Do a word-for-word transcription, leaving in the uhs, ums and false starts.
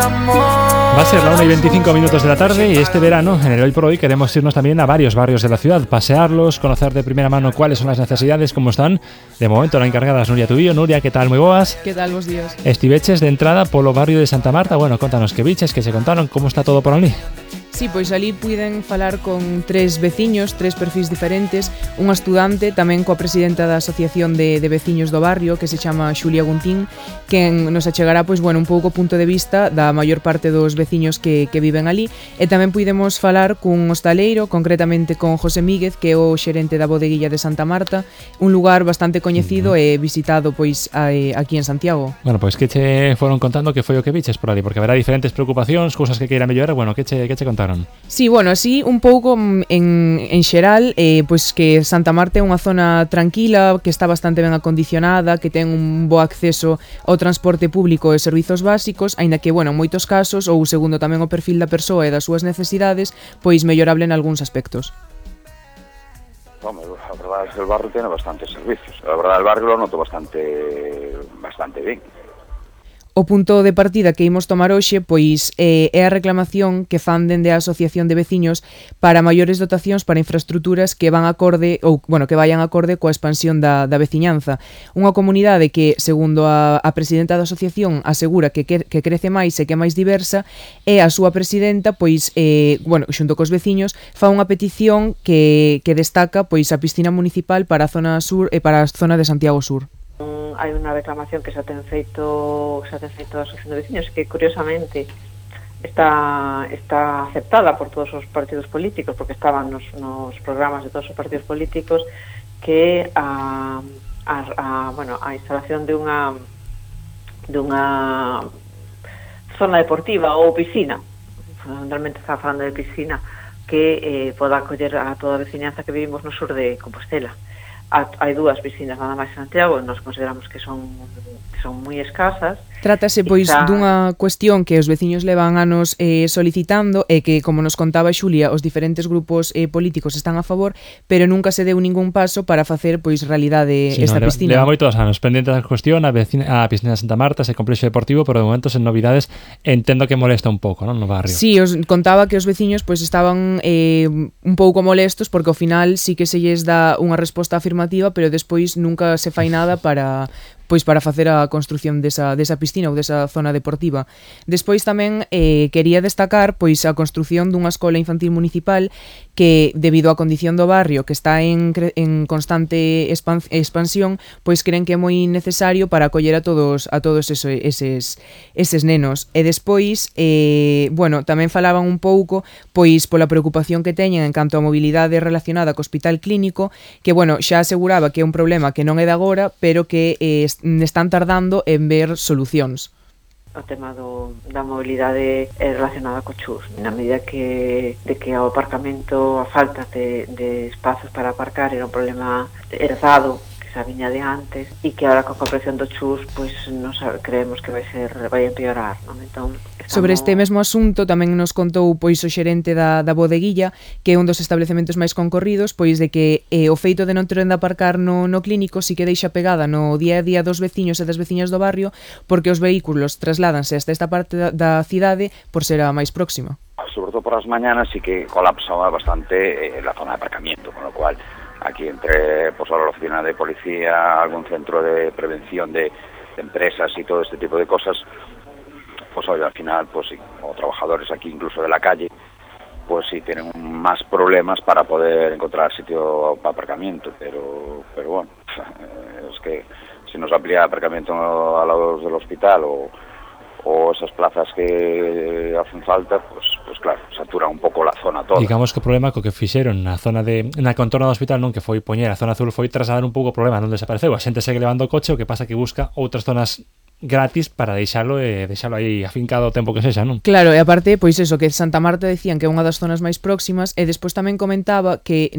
Va a ser la una y veinticinco minutos de la tarde y este verano, en el Hoy por Hoy, queremos irnos también a varios barrios de la ciudad, pasearlos, conocer de primera mano cuáles son las necesidades, cómo están. De momento la encargada es Nuria Tubillo. Nuria, ¿qué tal? Moi boas. ¿Qué tal, vos días? Estiveches de entrada polo barrio de Santa Marta. Bueno, contanos que biches, que se contaron, como está todo por ali. Sí, pois ali puiden falar con tres veciños, tres perfis diferentes, unha estudante, tamén coa presidenta da Asociación de, de Veciños do Barrio, que se chama Xulia Guntín, que nos achegará, pois, bueno, un pouco o punto de vista da maior parte dos veciños que, que viven ali, e tamén puidemos falar cun hostaleiro, concretamente con José Míguez, que é o xerente da bodeguilla de Santa Marta, un lugar bastante coñecido uh-huh. e visitado, pois, a, aquí en Santiago. Bueno, pois que che foron contando que foi o que biches por ali, porque haberá diferentes preocupacións, cousas que queira mellorar, bueno, que che, que che contaron? Sí, bueno, así un pouco en, en xeral, eh, pois que Santa Marta é unha zona tranquila, que está bastante ben acondicionada, que ten un bo acceso ao transporte público e servizos básicos, aínda que, bueno, en moitos casos, ou segundo tamén o perfil da persoa e das súas necesidades, pois mellorable en algúns aspectos. Hombre, a verdade é que o barrio tiene bastantes servicios. A verdade, o barrio lo noto bastante bastante ben. O punto de partida que imos tomar hoxe pois eh, é a reclamación que fan dende a Asociación de Veciños para maiores dotacións para infraestructuras que van acorde ou bueno, que vayan acorde coa expansión da, da veciñanza. Unha comunidade que, segundo a, a presidenta da asociación, asegura que, que, que crece máis e que é máis diversa, e a súa presidenta, pois, eh, bueno, xunto cos veciños, fa unha petición que, que destaca pois a piscina municipal para a zona sur e para a zona de Santiago Sur. Hai unha reclamación que xa ten feito xa ten feito a Asociación de Veciños, que curiosamente está está aceptada por todos os partidos políticos, porque estaban nos, nos programas de todos os partidos políticos, que a, a, a, bueno, a instalación de unha de unha zona deportiva ou piscina, fundamentalmente está falando de piscina, que eh, poda acoller a toda a veciñanza que vivimos no sur de Compostela. Hai dúas piscinas nada máis en Santiago, e nós consideramos que son que son moi escasas. Trátase, pois, está... dunha cuestión que os veciños levan anos eh, solicitando e que, como nos contaba Xulia, os diferentes grupos eh, políticos están a favor, pero nunca se deu ningún paso para facer, pois, realidade sí, esta no, piscina. Leva moitos anos pendente da cuestión, a, vecina, a piscina de Santa Marta, ese complexo deportivo, pero de momento sen novidades, entendo que molesta un pouco, non, no barrio. Sí, os contaba que os veciños, pois, estaban eh, un pouco molestos, porque ao final sí que se lles dá unha resposta afirmativa, pero despois nunca se fai nada para... pois para facer a construción desa, desa piscina ou desa zona deportiva. Despois tamén eh, quería destacar pois a construción dunha escola infantil municipal que, debido á condición do barrio, que está en, en constante expan, expansión, pois creen que é moi necesario para acoller a todos a todos eso, eses, eses nenos. E despois, eh, bueno, tamén falaban un pouco pois pola preocupación que teñen en canto á mobilidade relacionada co hospital clínico, que, bueno, xa aseguraba que é un problema que non é de agora, pero que eh, están tardando en ver solucións. O tema do, da mobilidade é relacionada co chus, na medida que de que o aparcamento, a falta de, de espazos para aparcar era un problema heredado que xa viña de antes, e que agora con a compresión do chus pois nos creemos que vai ser vai empeorar, non? Entón, estamos... Sobre este mesmo asunto tamén nos contou pois o xerente da, da bodeguilla, que é un dos establecementos máis concorridos, pois de que eh, o feito de non ter onde aparcar no, no clínico si que deixa pegada no día a día dos veciños e das veciñas do barrio, porque os vehículos trasládanse hasta esta parte da, da cidade por ser a máis próxima. Sobre todo por as mañanas sí que colapsaba bastante eh, la zona de aparcamiento, con lo cual aquí entre pues, la oficina de policía, algún centro de prevención de, de empresas y todo este tipo de cosas, pues hoy al final, pues sí, o trabajadores aquí incluso de la calle, pues sí tienen más problemas para poder encontrar sitio para aparcamiento, pero, pero bueno, es que si nos amplía aparcamiento a los del hospital o o esas plazas que hacen falta, pues, pues claro, satura un pouco la zona toda. Digamos que o problema co que fixeron na zona de na contorno do hospital, non, que foi poñer a zona azul, foi trasladar un pouco o problema, non desapareceu. A xente segue levando o coche, o que pasa que busca outras zonas gratis para deixalo e deixalo aí afincado o tempo que sexa, non? Claro, e aparte, pois eso, que Santa Marta decían que é unha das zonas máis próximas, e despois tamén comentaba que